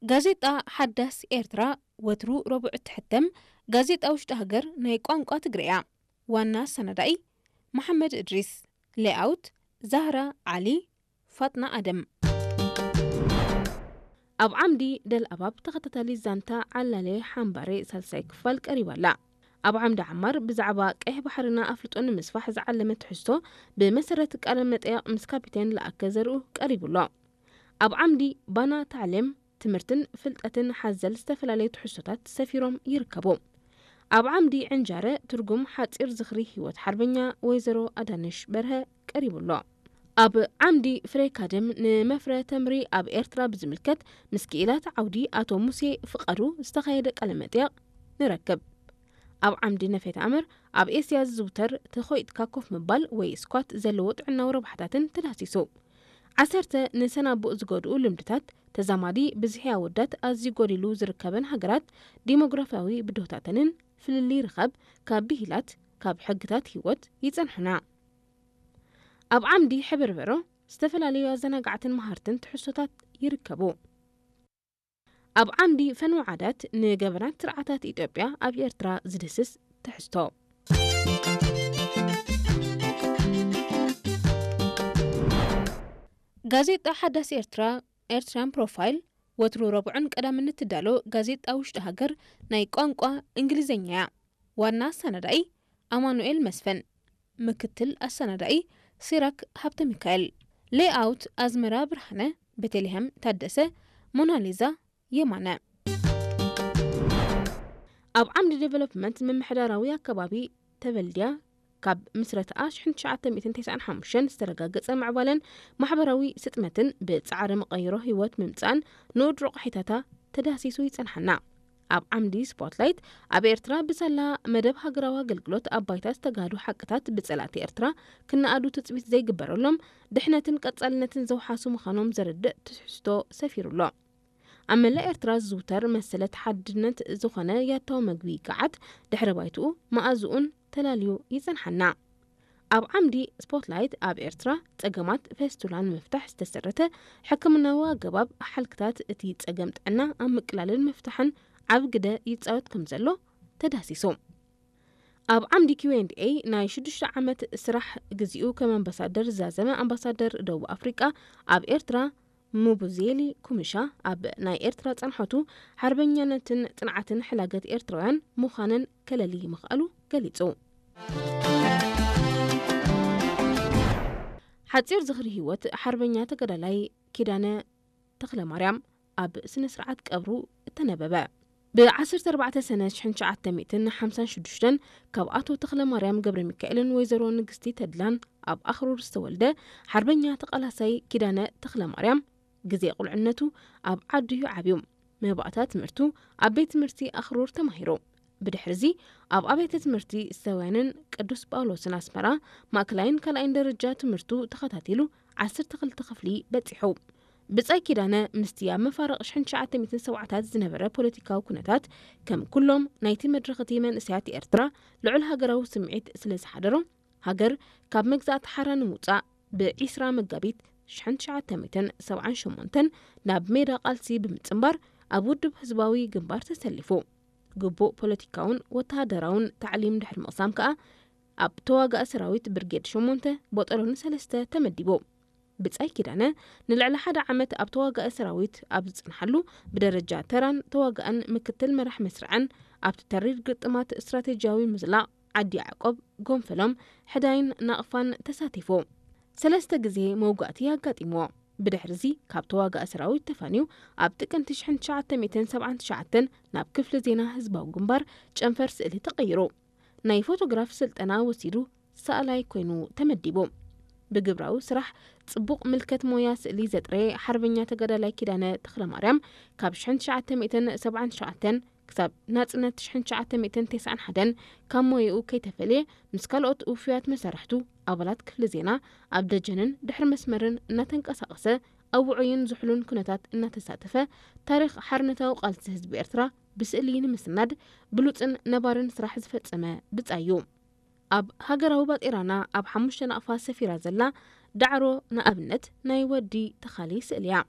ጋዜጣ ሓዳስ ኤርትራ ወትሩ ረቡዕ እትሕተም ጋዜጣ ውሽጢ ሃገር ናይ ቋንቋ ትግርኛ። ዋና ኣሰናዳኢ መሓመድ እድሪስ። ሌኣውት ዛህራ ዓሊ፣ ፋጥና ኣደም። ኣብ ዓምዲ ደልኣባብ ተኸታታሊ ዛንታ ዓላሌ ሓምባሬ ሳልሳይ ክፋል ቀሪባ ኣላ። ኣብ ዓምዲ ዓማር ብዛዕባ ቀይሕ ባሕርና ኣፍልጦ ንምስፋሕ ዝዓለመ ትሕዝቶ ብመሰረት ቃለ መጠይቕ ምስ ካፒቴን ለኣከ ዘርኡ ቀሪቡ ኣሎ። ኣብ ዓምዲ ባና ታዕሌም ትምህርትን ፍልጠትን ሓዘል ዝተፈላለዩ ትሕዝቶታት ሰፊሮም ይርከቡ። ኣብ ዓምዲ ዕንጃረ ትርጉም ሓጺር ዝኽሪ ህይወት ሓርበኛ ወይዘሮ ኣዳነሽ በርሀ ቀሪቡ ኣሎ። ኣብ ዓምዲ ፍሬ ካደም ንመፍረ ተምሪ ኣብ ኤርትራ ብዝምልከት ምስ ክኢላት ዓውዲ ኣቶ ሙሴ ፍቃዱ ዝተኻየደ ቃለ መጠይቕ ንረክብ። ኣብ ዓምዲ ነፌት ኣምር ኣብ ኤስያ ዝዝውተር ተኾይጥካ ኮፍ ምባል ወይ ስኳት ዘለዎ ጥዕናዊ ረብሓታትን ተዳህሲሱ። ዓሰርተ ንሰናቡእ ዝጎድኡ ልምድታት ተዛማዲ ብዝሒ ኣወዳት ኣዝዩ ጎዲሉ ዝርከበን ሃገራት ዲሞግራፊያዊ ብድሆታተንን ፍልልይ ርኸብ ካብ ብሂላት ካብ ሕግታት ህይወት ይጸንሑና። ኣብ ዓምዲ ሕብርበሮ ዝተፈላለዩ ኣዘናጋዕትን መሃርትን ትሕዝቶታት ይርከቡ። ኣብ ዓምዲ ፈንው ዓዳት ንገበናት ስርዓታት ኢትዮጵያ ኣብ ኤርትራ ዝድህስስ ትሕዝቶ። ጋዜጣ ሓዳስ ኤርትራ ኤርትራን ፕሮፋይል ወትሩ ረቡዕን ቀዳምን እትዳሎ ጋዜጣ ውሽጢ ሃገር ናይ ቋንቋ እንግሊዝኛ እያ። ዋና ኣሰናዳኢ ኣማኑኤል መስፍን፣ ምክትል ኣሰናዳኢ ሲራክ ሃብተ ሚካኤል፣ ሌኣውት ኣዝመራ ብርሃነ፣ ቤተልሔም ታደሰ፣ ሞናሊዛ የማነ። ኣብ ዓምዲ ዴቨሎፕመንት ምምሕዳራዊ ኣከባቢ ተበልድያ ካብ ምስረትኣ ሽሕን ትሽዓተ ሚእትን ተስዓን ሓሙሽተን ዝተረጋገጸ ምዕባለን ማሕበራዊ ስጥመትን ብጻዕሪ መቐይሮ ህይወት ምምጻእን ንኡድ ረቑሒታታ ተዳህሲሱ ይጸንሓና። ኣብ ዓምዲ ስፖትላይት ኣብ ኤርትራ ብሳላ መደብ ሃገራዊ ኣገልግሎት ኣብ ባይታ ዝተጋህዱ ሓቅታት ብጸላእቲ ኤርትራ ክነኣዱ ትጽቢት ዘይግበረሎም ድሕነትን ቀጻልነትን ዘውሓሱ ምዃኖም ዘረድእ ትሕዝቶ ሰፊሩ ኣሎ። ኣብ መላእ ኤርትራ ዝዝውተር መሰለት ሓድነት ዝኾነ ያታዊ መግቢ ገዓት ድሕረ ባይትኡ መኣዝኡን ተላልዩ ይጸንሓና። ኣብ ዓምዲ ስፖትላይት ኣብ ኤርትራ ጸገማት ፌስቱላ ንምፍታሕ ዝተሰረተ ሕክምናዊ ኣገባብ ሓልክታት እቲ ጸገም ጥዕና ኣብ ምቅላልን ምፍታሕን ዓቢ ግደ ይጻወት ከም ዘሎ ተዳህሲሱ። ኣብ ዓምዲ ኪው ኤንድ ኤይ ናይ ሽዱሽተ ዓመት ስራሕ ግዚኡ ከም ኣምባሳደር ዝዛዘመ ኣምባሳደር ደቡብ ኣፍሪቃ ኣብ ኤርትራ ሙቡዜሊ ኩምሻ ኣብ ናይ ኤርትራ ጸንሖቱ ሓርበኛነትን ጽንዓትን ሕላገት ኤርትራውያን ምዃነን ከለሊ ምኽኣሉ ገሊጹ። ሓጺር ዝኽሪ ህይወት ሓርበኛ ተጋዳላይ ኪዳነ ተኽለማርያም ኣብ ስነ ስርዓት ቀብሩ እተነበበ። ብ ዓሰርተ ኣርባዕተ ሰነ ሽሕን ትሽዓተ ሚእትን ሓምሳን ሽዱሽተን ካብ ኣቶ ተኽለማርያም ገብረ ሚካኤልን ወይዘሮ ንግስቲ ተድላን ኣብ ኣኽሩር ዝተወልደ ሓርበኛ ተቓላሳይ ኪዳነ ተኽለማርያም ግዜ ቁልዕነቱ ኣብ ዓዱ እዩ ዓብዩ። መባእታ ትምህርቱ ኣብ ቤት ትምህርቲ ኣኽሩር ተማሂሩ። ብድሕርዚ ኣብ ኣብያተ ትምህርቲ ሰውያንን ቅዱስ ጳውሎስን ኣስመራ ማእከላይን ካልኣይን ደረጃ ትምህርቱ ተኸታቲሉ ዓሰርተ ክልተ ክፍሊ በጺሑ። ብጻይ ኪዳነ ምስቲ ኣብ መፋርቕ ሽሕን ትሽዓተ ሚእትን ሰብዓታት ዝነበረ ፖለቲካዊ ኩነታት ከም ኩሎም ናይቲ መድረኽ እቲ መንእሰያት ኤርትራ ልዑል ሃገራዊ ስምዒት ስለ ዝሓደሮ ሃገር ካብ መግዛእቲ ሓራ ንምውጻእ ብ ዒስራ መጋቢት ሽሕን ትሽዓተ ሚእትን ሰብዓን ሸሞንተን ናብ ሜዳ ቃልሲ ብምጽንባር ኣብ ውድብ ህዝባዊ ግንባር ተሰሊፉ። ግቡእ ፖለቲካውን ወተሃደራውን ታዕሊም ድሕሪ ምቕሳም ከኣ ኣብ ተዋጋኢ ሰራዊት ብርጌድ ሸሞንተ ቦጠሎኒ ሰለስተ ተመዲቡ። ብጻይ ኪዳነ ንልዕሊ ሓደ ዓመት ኣብ ተዋጋኢ ሰራዊት ኣብ ዝጽንሓሉ ብደረጃ ተራን ተዋጋእን ምክትል መራሕ መስርዕን ኣብቲ ተሪር ግጥማት ስትራቴጂያዊ ምዝላቕ ዓዲ ያዕቆብ፣ ጎንፈሎም፣ ሕዳይን ናቕፋን ተሳቲፉ። ሰለስተ ግዜ መውጋእቲ ኣጋጢምዎ። ብድሕርዚ ካብ ተዋጋኢ ሰራዊት ተፋንዩ ኣብ ጥቅምቲ ሽሕን ትሽዓተ ሚእትን ሰብዓን ትሽዓተን ናብ ክፍሊ ዜና ህዝባዊ ግንባር ጨንፈር ስእሊ ተቐይሩ። ናይ ፎቶግራፍ ስልጠና ወሲዱ ሰኣላይ ኮይኑ ተመዲቡ። ብግብራዊ ስራሕ ጽቡቕ ምልከት ሞያ ስእሊ ዘጥረየ ሓርበኛ ተጋዳላይ ኪዳነ ተኽለማርያም ካብ ሽሕን ትሽዓተ ሚእትን ሰብዓን ትሽዓተን ክሳብ ናጽነት ሽሕን ትሽዓተ ሚእትን ተስዓን ሓደን ካብ ሞያኡ ከይተፈልየ ምስ ካልኦት ውፉያት መሳርሕቱ ኣባላት ክፍሊ ዜና ኣብ ደጀንን ድሕሪ መስመርን እናተንቀሳቐሰ ኣብ ውዑይን ዝሑልን ኩነታት እናተሳተፈ ታሪኽ ሓርነታዊ ቃልሲ ህዝቢ ኤርትራ ብስእሊ ንምስናድ ብሉጽን ነባርን ስራሕ ዝፈጸመ ብጻይ እዩ። ኣብ ሃገራዊ ባጤራና ኣብ ሓሙሽተ ናቕፋ ሰፊራ ዘላ ዳዕሮ ንኣብነት ናይ ወዲ ተኻሊ ስእሊ እያ።